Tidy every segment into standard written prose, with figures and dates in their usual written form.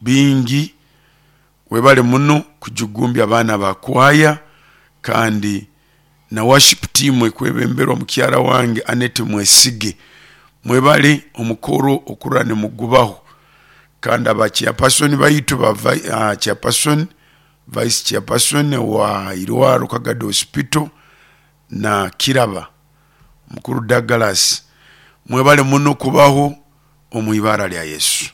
Bingi webale muno kujugumbya abaana ba kwaya kandi na worship team ekwebemberwa mukyara wange Annet Mwesige. Mwebale omukoro okurora nimugubaho kandi aba chairperson baitu ba chairperson, vice chairperson owa irwaro Kagadi Hospital na Kiraba mukuru Douglas mwebale muno kubaho omu ibara lya Yesu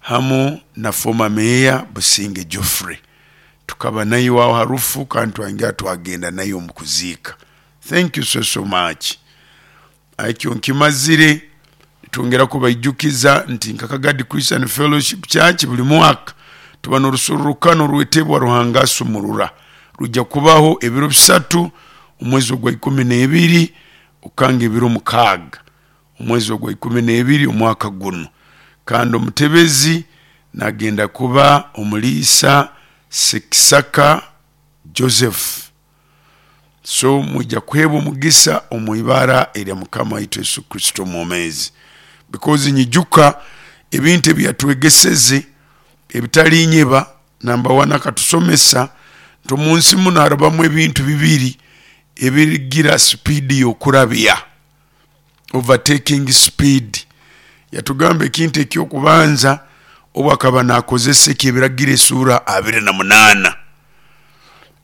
hamu na former mayor Businge Geoffrey tukaba naiwe aho ha rufu kandi twayongera twagenda naiwe omu kuziika. Thank you so so much. Ekyo nkimazire nitwongera kubaijukiza nti nka Kagadi Christian Fellowship Church buli mwaka tuba n'orusorrokano orwetebwa Ruhanga Asumurura. Rwija kubaho ebiro bisatu omwezi ogwa 12 okanga ebiro 6 omwezi ogwa 12 omwaka gunu. Kandi omutebezi nagenda kuba omuliisa Sekisaka Joseph. So mwija kuheebwa omugisa omu ibara erya Mukama waitu Yesu Kristo omwomeezi. Because nyijuka ebintu ebi yatwegeseze ebitalinyeba, namba wani akatusomesa nti omu nsi munu harabamu ebintu bibiri ebirigira sipiidi y'okurabya, overtaking speed. Yatugamba ekintu eky'okubanza obu akaba nakozesa eky'ebiragiro esuura 28.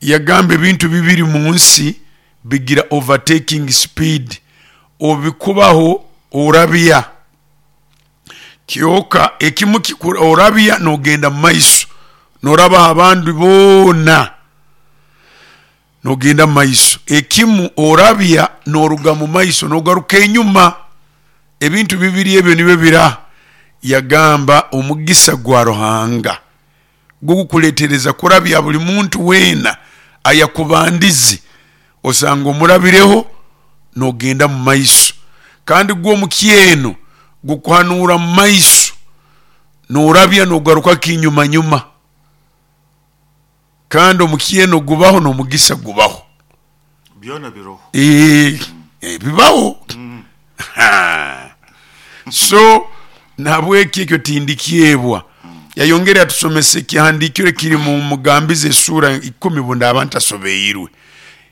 Yagamba ebintu bibiri mu nsi bigira overtaking speed, obikubaho orabya kyoka ekimu orabya nogenda mu maiso norabaho abandi boona nogenda mu maiso, ekimu orabya noruga mu maiso nogaruka enyuma. Ebintu bibiri ebyo nibyo biraha? Yagamba omugisa gwa Ruhanga gukukuletereza kurabya buli muntu weena ayakubandize, osanga omurabireho nogenda mu maiso. Kandi gwo omukyeno gukuhanuura mu maiso norabya nogaruka kinyumanyuma. Kandi omukyeno gubaho n'omugisa gubaho. Byona biroho. Bibaho. So nahabweki ekyo tindikyebwa. Yayongera yatusomesa ekihandiikirwe ekiri mu Mugambizi esuura ikumi bundaaba ntasobeirwe.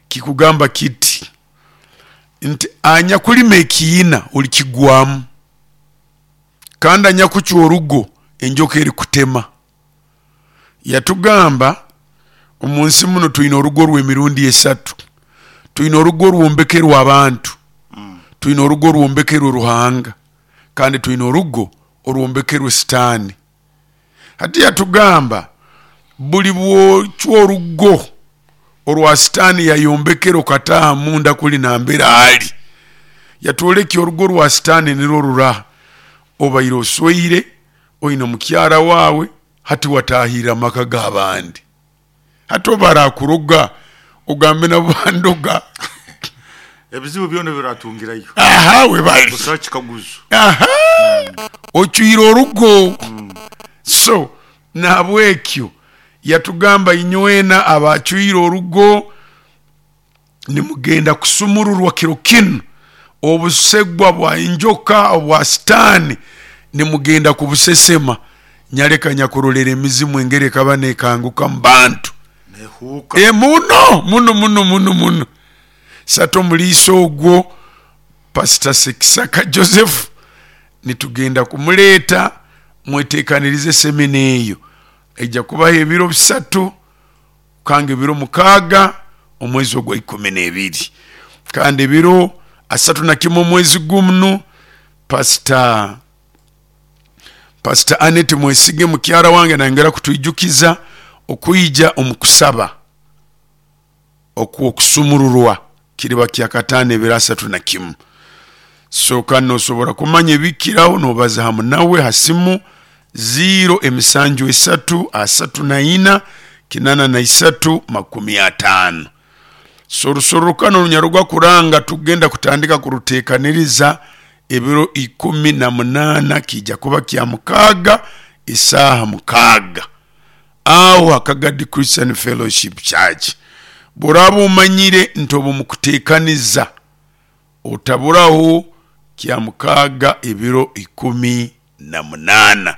Kikugamba kiti nti anyakulima ekiina olikigwamu, kandi anyakucwa orugo enjoka erikutema. Yatugamba omu nsi muno twine orugo rw'emirundi esatu. Twine orugo orwombekerwe abantu, twine orugo orwombekerwe Ruhanga, kandi twine orugo orwombekerwe Sitaani. Hati yatugamba buli bwocwa orugo orwa Sitaani yayombekere okataaha munda kuli nambere ali, yatwolekya orugo rwa Sitaani nirwo ruraha, obaire osweire, oine mukyara waawe, hati watahirra amaka g'abandi. Hati obu barakuroga ogambe nabo bandoga. Ebizibu byona obiratungirayo. Aha webale. Busaho kikaguzo. Aha ocwire orugo. So nahabwekyo yatugamba inywena abacwire orugo nimugenda kusumururwa kiro kinu, obusegwa bwa enjoka obwa Sitaani nimugenda kubusesema. Nyaleka nyakurolera emizimu engeri ekaba nekanguka mu bantu. Nehuuka. Muno muno muno muno muno. Sata omuliisa ogwo Pastor Sekisaka Joseph nitugenda kumuleeta mwetekanirize semina eyo. Eija kubaho ebiro bisatu kukanga ebiro 6 omwezi ogwa 12. Kandi ebiro 31 omwezi gunu Pastor Pastor Annet Mwesige mukyara wange nayongera kutwijukiza okwija omu kusaba okw'okusumururwa kiriba kyakataano ebiro 31. So kandi nosobora kumanya ebikiraho nobaza hamu nawe ha simu ziiro emisanju esatu 34 83 50. So orusorrokano orunyarugwa kuranga tugenda kutandika kuruteekaniriza ebiro 18 kiija kuba kya mukaaga esaaha 6 aho ha Kagadi Christian Fellowship Church. Bw'oraaba omanyire nti obu mukuteekaniza otaburaho kya mukaaga ebiro 18.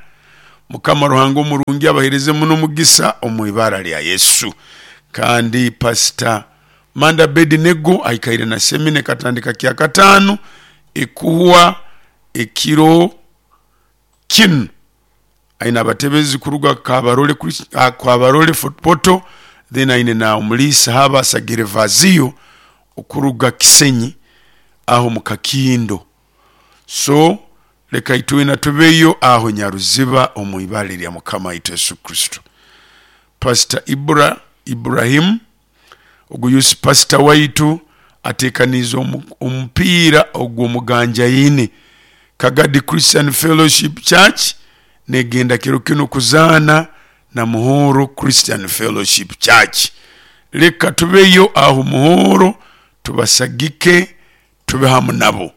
Mukama Ruhanga omurungi abahereze muno omugisa omu ibara lya Yesu. Kandi Pastor Manda Abednego aikaire na semina ekatandika kyakataano ekuhwa ekiro kinu. Aine abatebezi kuruga Kabarole, Kabarole Fort Portal, then aine na omuliisa Haba Sagerevazio okuruga Kisenyi aho mu Kakindo. So leka itwena tubeyo aho Nyaruziba omu ibara lya Mukama waitu Yesu Kristo. Pastor Ibra Ibrahim ogu youth pastor waitu atekaniize omupiira ogw'omuganjaine Kagadi Christian Fellowship Church negenda kiro kinu kuzaana na Muhoro Christian Fellowship Church. Leka tubeyo aho Muhoro tubasagike tube hamu nabo.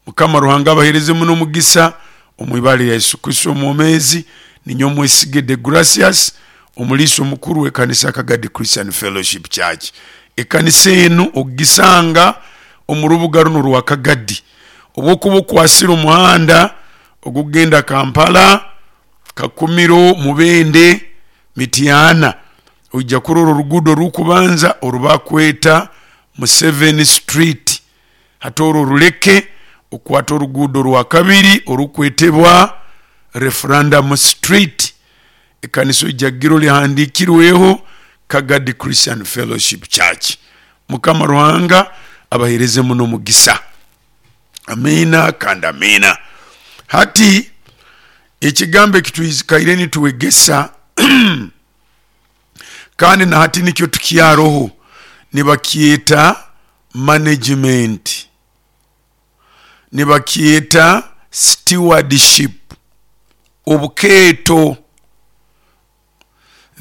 Mukama Ruhanga abahereze muno omugisa omu ibara lya Yesu Kristo omwomezi. Ninyowe Mwesige De Gracias, omuliisa omukuru w'ekanisa Kagadi Christian Fellowship Church. Ekanisa enu ogisanga omu rubuga runu rwa Kagadi. Obwokuba okwasire omuhanda ogugenda Kampala, Kakumiro, Mubende, Mityana, oija kurora oruguudo orukubanza orubakweta Museveni Street. Hati orwo oruleke okwate oruguudo rwakabiri orukwetebwa Referendum Street. Ekanisa oija kugirora ehandiikirweho Kagadi Christian Fellowship Church. Mukama Ruhanga abahereze muno omugisa. Amiina kandi amiina. Hati ekigambo ekitwikaire nitwegesa kandi na hati nikyo tukyaroho nibakyeta management, nibakyeta stewardship, obukeeto.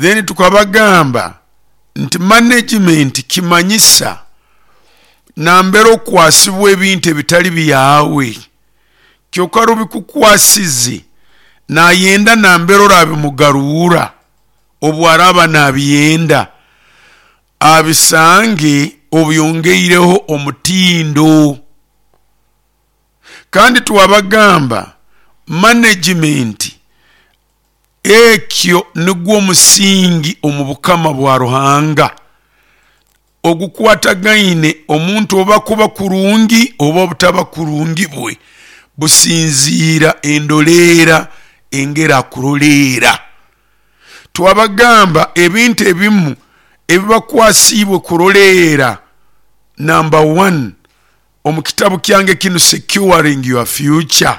Then tukabagamba nti management kimanyisa nambere okwasibwa ebintu ebitali byawe, kyonka rubikukwasize nayenda nambere orabimugarura obu araba nabyenda abisange obyongeireho omutindo. Kandi twabagamba management ekyo nigwo omusingi omu bukama bwa Ruhanga ogukwatagaine omuntu oba kuba kurungi oba obutaba kurungi bwe businziira endoleera engeri akuroleera. Twabagamba ebintu ebimu ebibakwasiibwe kuroleera. Number 1, omu kitabu kyange kinu Securing Your Future,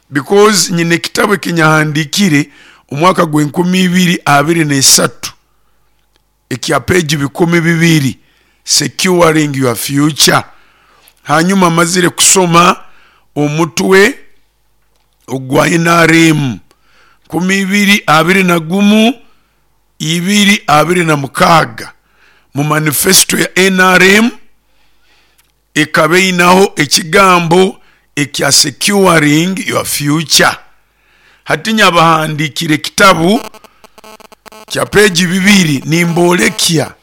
because nyine ekitabu ekinyahandiikire omwaka gw'enkumi ibiri abiri n'esatu ekya peegi bikumi bibiri, Securing Your Future. Hanyuma mazire kusoma omutwe ogwa NRM 2021 2026 mu manifesto ya NRM ekaba einaho ekigambo ekya Securing Your Future. Hati nyabahandiikire ekitabu kya peegi bibiri nimbolekya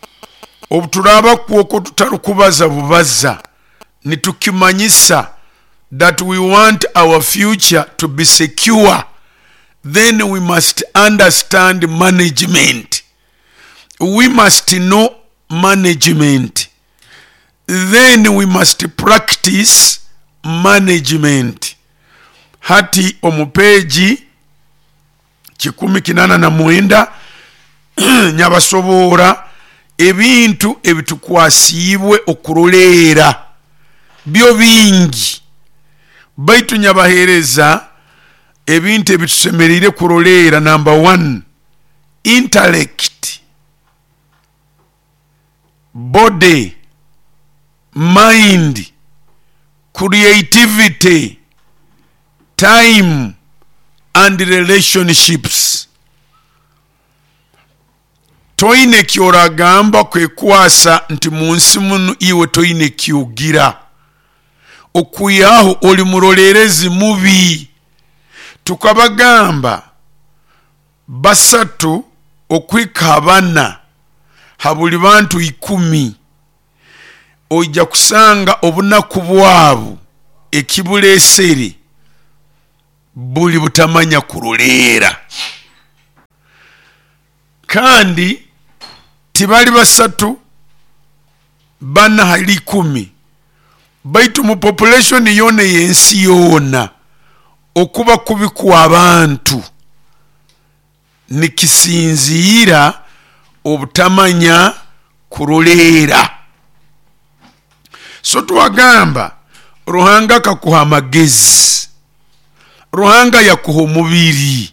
obuturaba kwokwo tutarukubaza bubaza nitukimanyisa that we want our future to be secure, then we must understand management. We must know management. Then we must practice management. Hati omu peegi 189 nyabasoboora ebintu ebitukwasiibwe okuroleera byo bingi, baitu nyabahereza ebintu ebitusemeriire kuroleera. Number 1, intellect, body, mind, creativity, time and relationships. Toine ekyoragamba kwekwasa nti munsi munu iwe toine ekyogira, okwihaho oli murolerezi mubi. Tukabagamba 3 okuhika 4 ha buli bantu 10 oija kusanga obunaku bwabo ekibuleesere. Buli butamanya kuroleera. Kandi tibali 3, 4 hali 10, baitu mu population yoona ey'ensi yoona, okuba kubi kw'abantu nikisinziira obutamanya kuroleera. So twagamba Ruhanga akakuha amagezi, Ruhanga yakuha omubiri,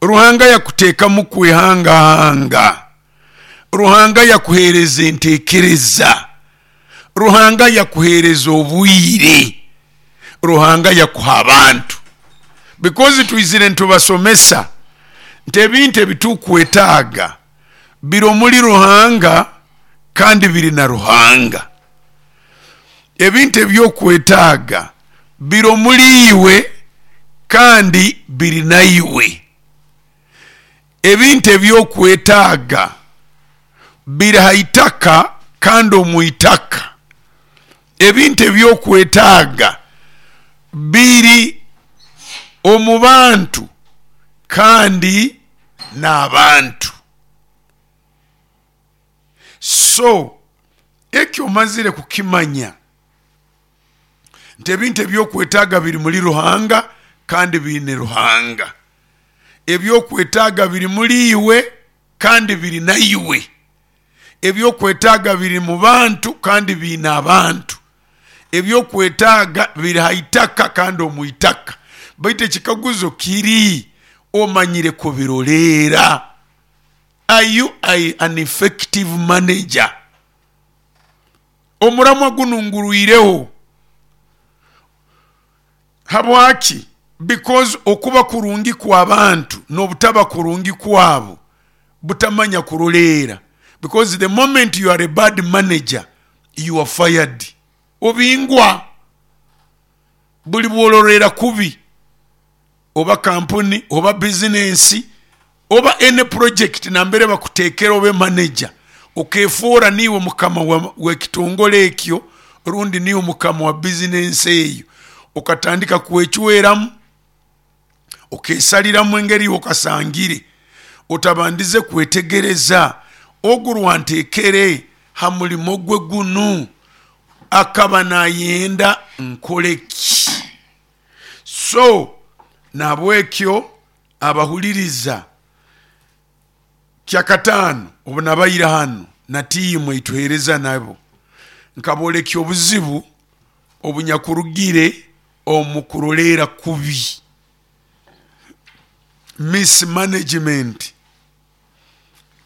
Ruhanga yakuteekamu kwehangahanga, Ruhanga yakuheereza enteekereza, Ruhanga yakuheereza obwire, Ruhanga yakuha abantu. Because twizire nitubasomesa nti ebintu ebitukwetaaga biri omuri Ruhanga kandi biri na Ruhanga. Ebintu ebyokwetaaga biri omuri iwe kandi biri naiwe. Ebintu ebyokwetaaga biri ha itaka kandi omu itaka. Ebintu ebyokwetaaga biri omu bantu kandi n'abantu. So eki omazire kukimanya nti ebintu ebyokwetaaga biri muri Ruhanga kandi biine Ruhanga. Ebyokwetaaga biri muri iwe kandi biri naiwe. Ebyokwetaaga biri mu bantu kandi biine abantu. Ebyokwetaaga biri ha itaka kandi omu itaka. Baitu ekikaguzo kiri, omanyire kubiroleera? Are you an effective manager? Omuramwa gunu ngurwireho. Habwaki? Because okuba kurungi kw'abantu n'obutaba kurungi kwabo butamanya kuroleera. Because the moment you are a bad manager, you are fired. Obingwa. Buli bw'oroleera kubi oba kampuni oba bizinensi oba any project nambere bakuteekera obe manager, okefoora niiwe mukama w'ekitongole ekyo rundi niiwe mukama wa bizinensi eyo, okatandika kwecweramu, okesaliramu engeri iwe okasangire, otabandize kwetegereza ogu rwanteekere ha mulimo gwe gunu akaba nayenda nkole ki? So nahabwekyo abahuliriza, kyakataano obu nabaire hanu na tiimu eituheereza nabo, nkaboolekya obuzibu obunyakurugire omu kuroleera kubi, mismanagement.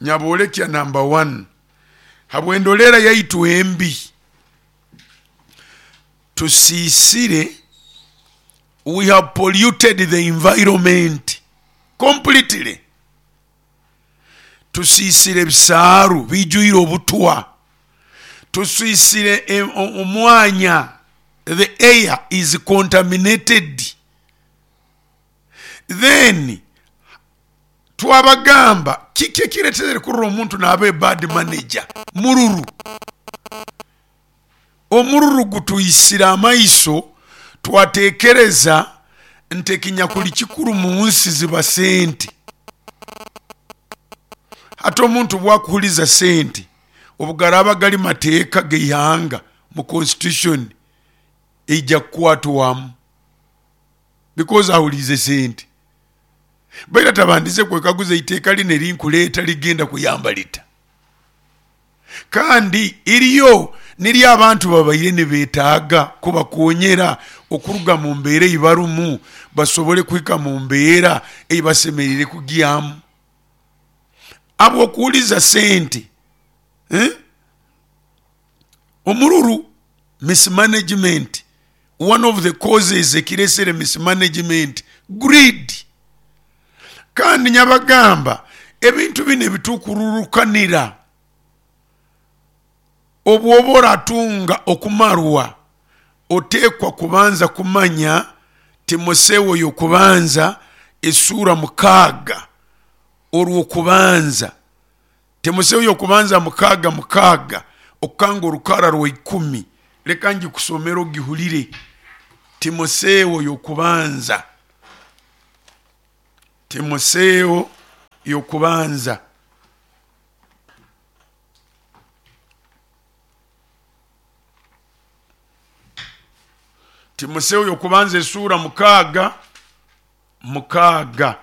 Nyaboolekya namba one, habw'endoleera yaitu embi, tusiisire, we have polluted the environment completely. Tusiisire ebisaaru biijwire obutwa, tusiisire omwanya, the air is contaminated. Then twabagamba kiki ekireetere kurora omuntu naaba a bad manager? Mururu. Omururu gutwisire amaiso twateekereza nti ekinyakuli kikuru mu nsi ziba sente. Hati omuntu obu akuhuliza sente, obu garaaba gali mateeka g'eihanga mu constitution eija kukwatwamu because ahuliize sente. Baitu atabandize kwekaguza eiteeka linu erinkuleeta ligenda kuyamba lita? Kandi iryo niryo abantu babaire nibeetaaga kubakonyera okuruga mu mbeera ei barumu basobole kuhika mu mbeera ei basemeriire kugyamu. Habw'okuhuliza sente, omururu, mismanagement, one of the causes ekireesere mismanagement, greed. Kandi nyabagamba ebintu binu ebitukururukanira, obu oba oratunga okumarwa, oteekwa kubanza kumanya Timoseo y'okubanza esuura 6 orw'okubanza. Timoseo y'okubanza 6 6 okukanga orukara rwa 10. Leka ngikusomere ogihulire. Timoseo y'okubanza. Timoseewo y'okubanza, Timoseewo y'okubanza esuura 6:6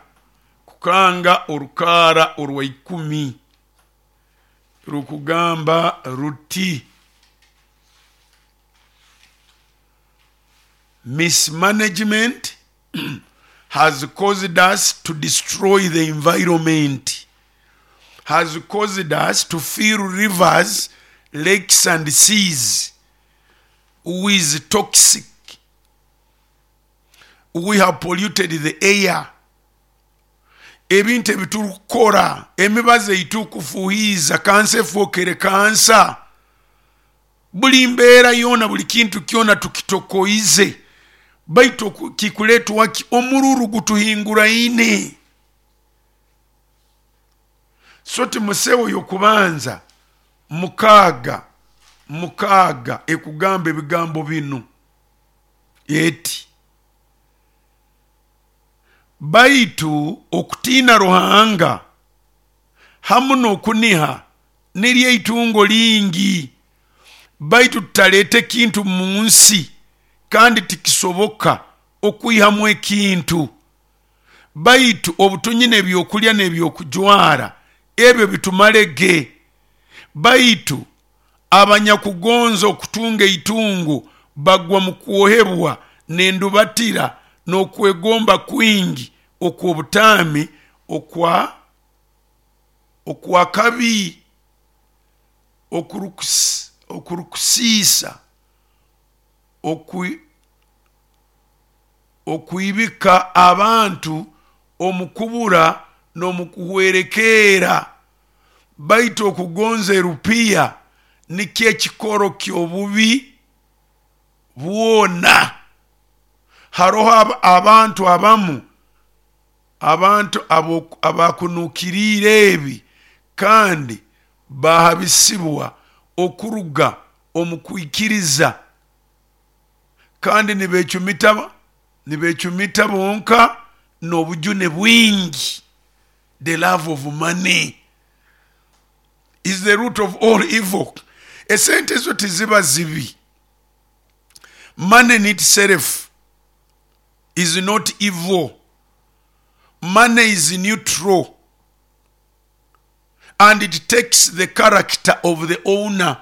kukanga orukaara orwa 10 rukugamba ruti: mismanagement has caused us to destroy the environment, has caused us to fill rivers, lakes and seas with toxic. We have polluted the air. Ebintu ebiturukukora, emibazi eitukufuhiiza, kansa efookere kansa. Buli mbeera yoona, buli kintu kyona tukitokoize. Baitu kikuleetwa ki? Omururu gutuhinguraine. So Timoseewo y'okubanza 6:6 ekugamba ebigambo binu eti: baitu okutiina Ruhanga hamu n'okuniha niryo itungo lingi, baitu tutaleeta ekintu mu nsi, kandi tikisoboka okwihamu ekintu. Baitu obutunyina ebyokulya n'ebyokujwara, ebyo bitumalege. Baitu abanyakugonza okutunga eitungo bagwa mu kwohebwa n'endubatira n'okwegomba kwingi okw'obutaami okwakabi okurukusiisa okwibika abantu omu kubura n'omu kuhwerekerra. Baitu okugonza erupiya nikyo ekikoro ky'obubi bwona. Haroho abantu abamu, abantu abakunukiriire ebi, kandi bahabisibwa okuruga omu kwikiriza, kandi nibecumita bonka n'obujune bwingi. The love of money is the root of all evil. Esente ezo tiziba zibi. Money in itself is not evil. Money is neutral and it takes the character of the owner,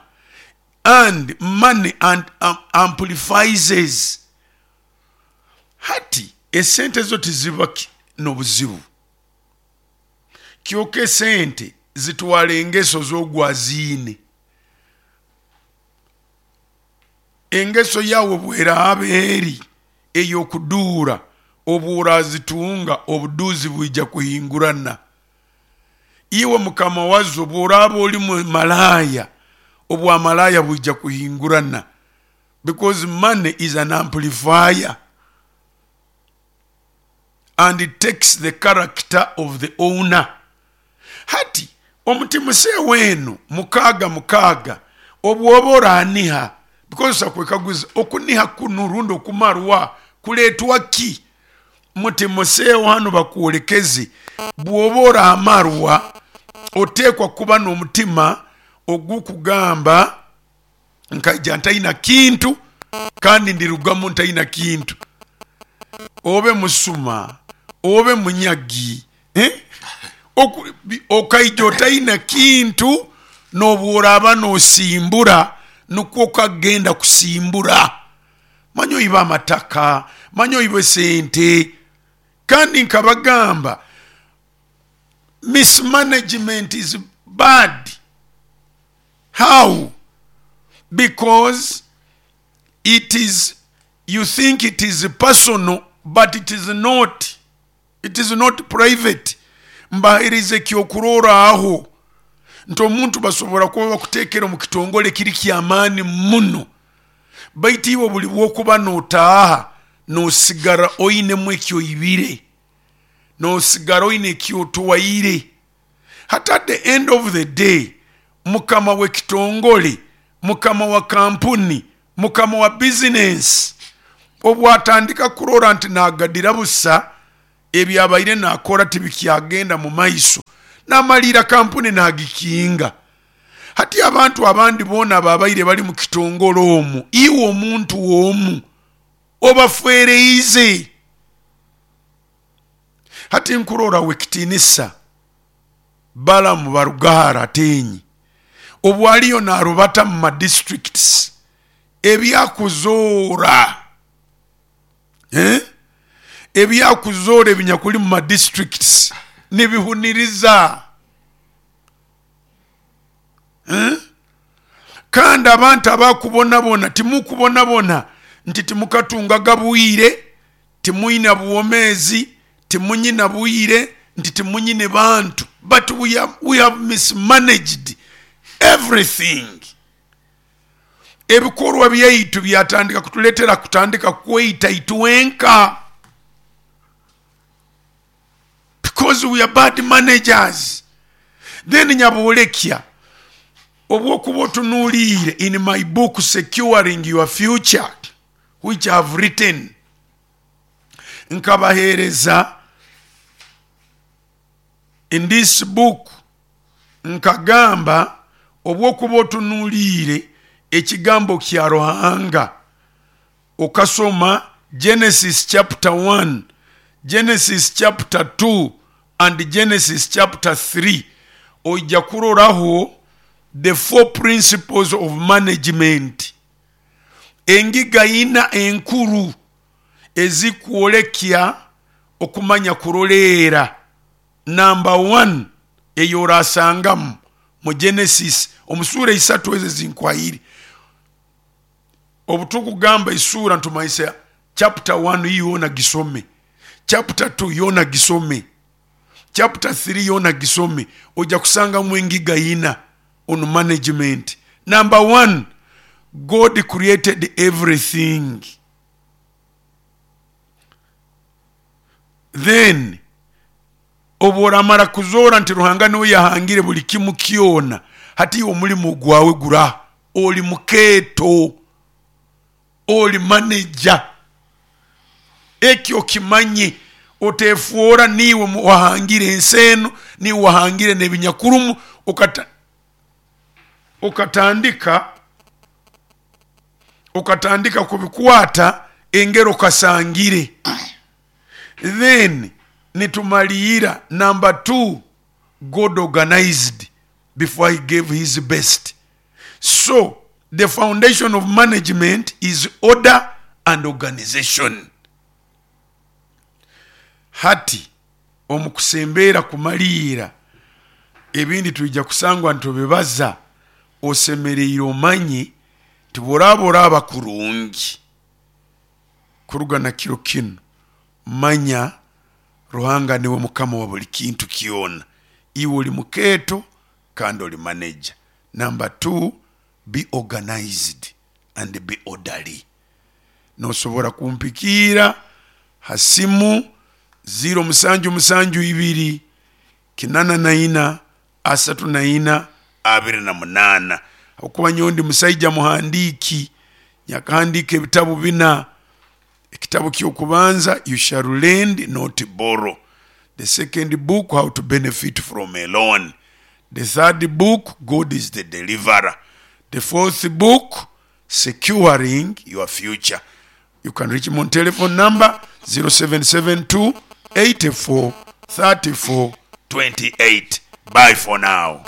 and money and amplifies. Hati esente zo tiziba n'obuzibu, kyoka esente zitwara engeso z'ogwaziine. Engeso yawe bweraaba eri ey'okuduura, obu orazitunga obuduuzi bwija kuhingurana. Iwe mukama wazo bw'oraaba oli malaaya, obwamalaaya bwija kuhingurana, because money is an amplifier and it takes the character of the owner. Hati omutimuseewo eno 6:6 obwoba oraniha, because kwekaguza okuniha kunu rundi okumarwa kuleetwa ki? Mutimoseewo hano bakwolekeze, bw'oba oramarwa oteekwa kuba n'omutima ogukugamba nkaija ntaina kintu kandi ndirugamu ntaina kintu. Obe musuma, obe munyagi, okaija otaina kintu, n'obworaaba n'osimbura nukwo okagenda kusimbura. Manya oiba amataka, manya oiba esente. Kandi nkabagamba mismanagement is bad. How? Because it is, you think it is personal, but it is not. It is not private. Mbahereze ekyokurorraho nti omuntu basobora kuba bakuteekera omu kitongole kiri ky'amaani muno, baitu iwe buli bw'okuba n'otaaha n'osigara oinemu ekyoibire, n'osigara oine ekyotwaire. Hati at the end of the day, mukama w'ekitongole, mukama wa kampuni, mukama wa bizinensi, obwatandika kurora nti nagadira busa, Ebyabaire naakora tibikyagenda mu maiso, naamaliira kampuni naagikinga. Hati abantu abandi boona ababaire bali mu kitongole omwo, iwe omuntu omu obafwereize. Hati nkurora Owekitiinisa Balaam Barugahara Ateenyi obu aliyo naarubata mu ma districts ebyakuzoora ebyakuzoora ebinyakuli mu ma districts nibihuniriza. Kandi abantu abakubonabona timukubonabona nti timukatungaga bwire, timwina bwomeezi, timunyina bwire, nti timunyine bantu, but we have mismanaged everything. Ebikorwa byaitu byatandika kutuletera kutandika kweita itwenka because we are bad managers. Then nyabolekya obwokuba otunuliire in my book Securing Your Future which I have written, nkabahereza in this book nkagamba obwokuba otunuliire ekigambo kya Ruhanga okasoma Genesis chapter 1, Genesis chapter 2 and Genesis chapter 3 oija kuroraho the four principles of management, engiga ina enkuru ezikwolekya okumanya kuroleera. Namba one ei orasangamu mu Genesis omu suura isatu ezo ezinkwaire, obu tukugamba esuura nitumanyisa chapter one yoona gisome, chapter two yoona gisome, chapter three yoona gisome, oija kusangamu engiga ina on management. Namba one, God created everything. Then obu oramara kuzoora nti Ruhanga niwe yahangire buli kimu kyona, hati iwe omulimo gwawe guraha? Oli mukeeto, oli maneja. Eki okimanye, otefoora niiwe wahangire ensi enu, niiwe wahangire n'ebinyakurumu, okatandika okatandika kubikwata engeri okasangire. Then nitumaliira number two, God organized before he gave his best. So the foundation of management is order and organization. Hati omu kusembeera kumaliira, ebindi twija kusangwa nitubibaza, osemereire omanye nti bworaaba oraaba kurungi kuruga na kiro kinu, manya Ruhanga niwe Mukama wa buli kintu kyona. Iwe oli mukeeto kandi oli maneja. Number two, be organized and be orderly. Nosobora kumpikiira ha simu ziiro musanju musanju ibiri, kinana na ina, asatu na ina, abiri na munaana. Habwokuba nyowe ndi musaija muhandiiki, nyakahandiika ebitabu bina. Ekitabu ky'okubanza, You Shall Lend Not Borrow. The second book, How to Benefit From a Loan. The third book, God is the Deliverer. The fourth book, Securing Your Future. You can reach me on telephone number 0772 84 34 28. Bye for now.